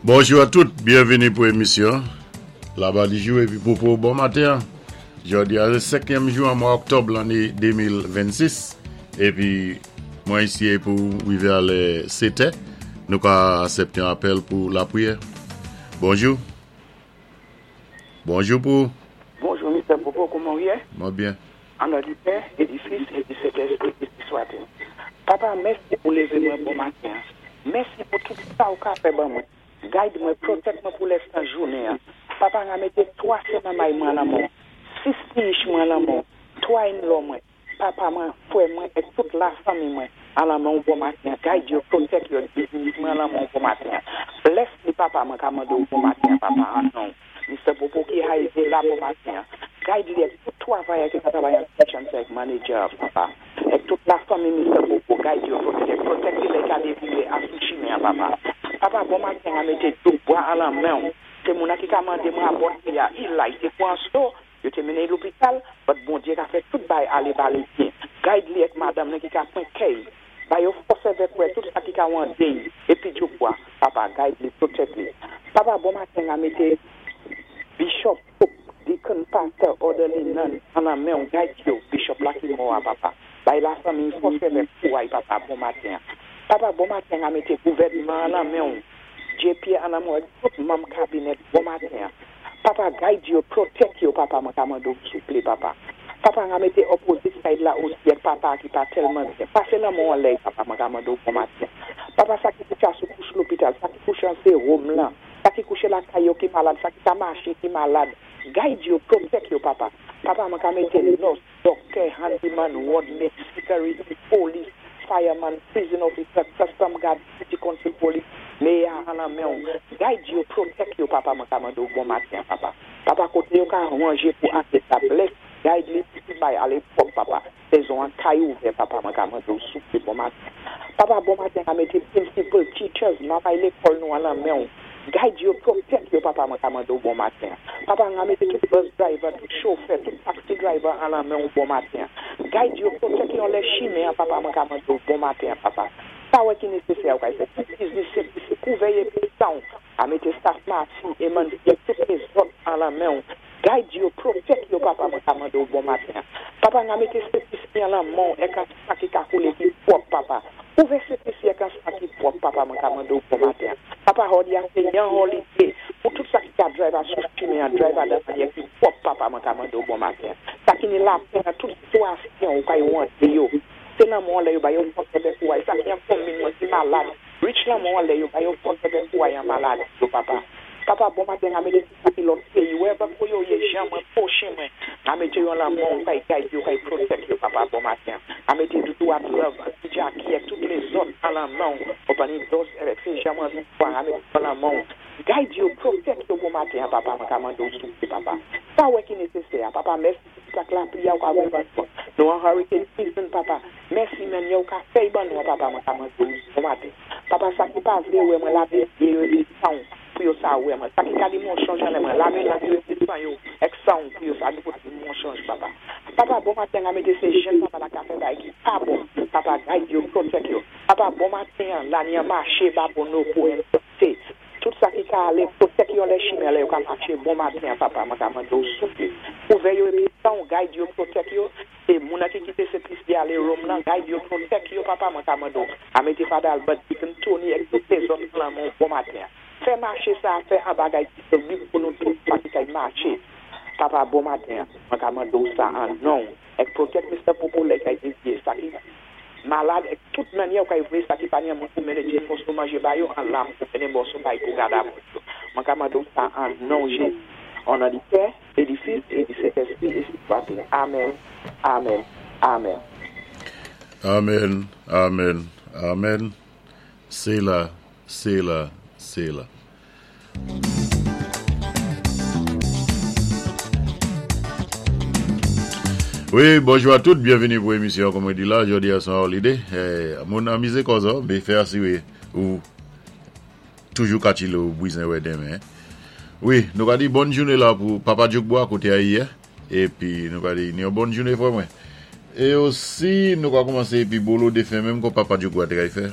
Bonjou a tout, byenvini pou emisyon Labadijou epi Popo bon maten an. Jodi a se senkyèm jou an mwa oktòb lanne 2026 epi mwen isi pou rive a lè setè nou ka asepte yon apèl pou lapriyè. Bonjou. Bonjou pou ou. Bonjou Mister Popo kouman ou ye? Mwen byen. An non di Pè e di Fis e di Sentespri beni swa te. Papa mèsi pou leve mwen bon maten an. Mèsi pou tout sa ou ka fè ban mwen. Guide mwen, protect mwen pou lèstan jounen an. Papa nga mete 3 se manmay mwen lan menw, 6 piyich mwen lan menw, 3 in law mwen, papa mwen, frè mwen et tout la fanmi mwen an lan menw bon maten an. Guide yo, protect yo, biznis mwen an lan menw bon maten an. Bless li papa mwen ka mande w bon maten an papa an nonw. Mister Popo ki haive la bon maten an. Guide li ak tout twavayè ki ka travay an kitchen sa ak manager an papa. Ak tout la fanmi Mister Popo guide yo protect protect li lè ka devire a sou chimen an papa. Papa bon maten an mete dlo bwa an lan menw. Se moun an ki ka mande mwen a bòt li a Eli te pran so yo te mennen li lopital but Bondye ka fè tout bay ale bale byen. Guide li ak madanm li ki ka pran kèy Ba yo fòs èvèk wè tout sa ki ka wande y epi djokwa papa guide li protect li papa bon maten a mete bishop pope deacon pastor orderly nun an nan menw guide yo bishop la ki mò a papa bay la fanmiy fòs èvèk kouray papa bon maten papa bon maten a mete gouvènman an nan menw JP an nan menw ak tout manm kabinèt bon maten Papa guide yo protect yo papa mwen ka mande w souple papa papa nga mete opposite side la osi ak papa ki pa telman byen pase lanmò anlè papa mwen ka mande w bon maten papa sa ki kouche a sou kouch lopital sa ki kouche an serum lan sa ki kouche lakay yo ki malad sa ki ka mache ki malad guide yo protect yo papa papa mwen ka mete nurse Doktè, handyman, wòdmèt, security, polis, fireman, prison officer, custom guard, city council police, meyè a an nan menw, guide yo, protect yo papa mwen ka mande w bon maten papa. Papa kote yo ka ranje pou ane sa bless, guide li pou tout bay ale pwòp papa. Sezon an kay ouvè papa mwen ka mande w souple bon maten. Papa bon maten ka mete principal, teachers, mamay lekòl nou an nan menw. Guide yo, protect yo papa mwen ka mande w bon maten. Papa nga mete tout bus driver, tout chofè, tout taxi driver an lan men w bon maten. Guide yo, protect yo lè chimen an papa mwen ka mande w bon maten papa. Sa wè ki nesesè ou kay fè tout biznis se plis kouvè epi sanw a mete staff mati, emanti ak tout lezòt an lan men w. Guide yo, protect yo papa mwen ka mande w bon maten. Papa nga mete sentespri an lan men w ek an sa ki ka koule ki pwòp papa. Ouvè sentespri ek an sa ki pwòp papa mwen ka mande w bon maten. Papa hòdi a se yan holiday pou tout sa ki ka drive a sou chimen an drive a dan manyè ki pwòp papa mwen ka mande w bon maten. Sa ki ni lapè nan tout sitiyasyon ou kay wande yo se lanmò an lè yo ba yo fòs èvè kouray sa ki an konmin mwen ki malad rich lanmò an lè yo ba yo fòs èvè kouray an maladi yo papa. Papa bon maten a mete tout sa ki lòt peyi wè vè yo ye jan mwen pwochen mwen a mete yon lanmò ou kay guide yo kay protect yo papa bon maten a mete doudou ak love ak ti Jacky ak tout lezòt an lanmò ou pani dos evèk se jan mwen viv a mete yon lanmò ou guide yo protect yo bon maten an papa mwen ka mande ou souple papa sa wè ki nesesè a papa mèsi pou tout ak lapli a ou ka voye ban nou nou an hurricane season papa mèsi mennyè ou ka fèy ban nou an papa mwen ka mande ou bon maten papa sa ki pa vle wè mwen lave zye yo epi sanw pou yo sa wè mwen. Sa ki ka di monchonj anlè mwen. Lave lang yo epi sanyo ek sanw pou yo sa di pou di monchonj papa. Papa bon maten an mete se jèn papa la ka fè bagay ki pa bon papa guide yo protect yo papa bon maten an lani an mache ba bon no pou en sante tout sa ki ka ale protect yo anlè chimen an lè yo ka mache bon maten an papa mwen ka mande w souple ouvè yo epi sanw guide yo protect yo se moun an ki kite se plis li ale Rome lan guide yo protect yo papa mwen ka mande w a mete Father Albert Deacon Tony ek tout lezòt lan men w bon maten an. Fè mache sa fè an bagay ki solid pou nou tout sa ki kay mache papa bon maten mwen ka mande w sa an non w ek protect Mister popo lè kay devye sa ki malad ek tout manyè ou kay voye sa ki pa ni an mwen pou mennen ti moso manje ba yo an lam pou mennen moso bay pou gad a moun yo mwen ka mande w sa an non Jezi o non di pè e di fis e di sentespri e si swatil amen amen amen. Amen amen amen Sela Sela Sela. Wi, bonjou a tout, byenvini pou emisyon an kòm mwen di la, jodi a son holiday, moun anmize kò zò, me fè asire ou toujou ka chile ou bwizen wè demen. Wi, nou ka di bòn joune la pou Papa Djokbwa kote a yè. Epi nou ka di ni yon bòn joune frè mwen. E osi nou ka koumanse epi bolo defen menm kon papa Djokbwa te kay fè.